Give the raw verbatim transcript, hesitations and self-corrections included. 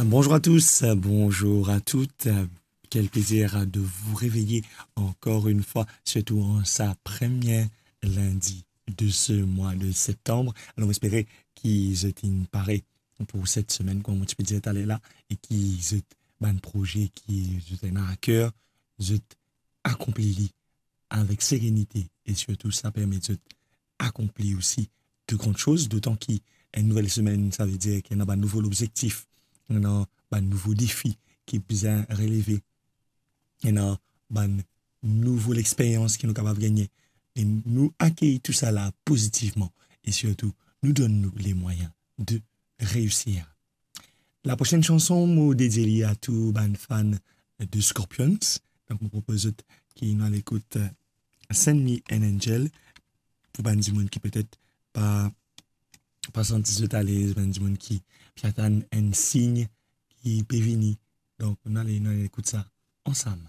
Bonjour à tous, bonjour à toutes. Quel plaisir de vous réveiller encore une fois, surtout en sa première lundi de ce mois de septembre. Alors, espérons ki zot inn pare pour cette semaine, kouma mo ti pe dir taler la, e ki zot bann proze ki zot ena a ker, zot akonpli li avek serenite e sirtou sa permet zot akonpli osi de gran soz, dotan ki enn nouvel semenn, sa ve dir ki ena bann nouvo lobzektif, ena bann nouvo defi ki bizin releve, ena bann nouvo lexperyans ki nou kapav gagne. E nou akey tousala pozitivman e sirtou nou donn nou lemwayin de reisir. Laprosenn sanson, mo dedie li a tou bann fan de Scorpions. Donk, mo propoz zot ki nou al ekout, euh, Send Me an Angel, pou bann dimoun ki petet pa, pa santi zot alez, bann dimoun ki pe atann enn sign ki pe vini. Donk, nou al, nou al ekout sa ansam.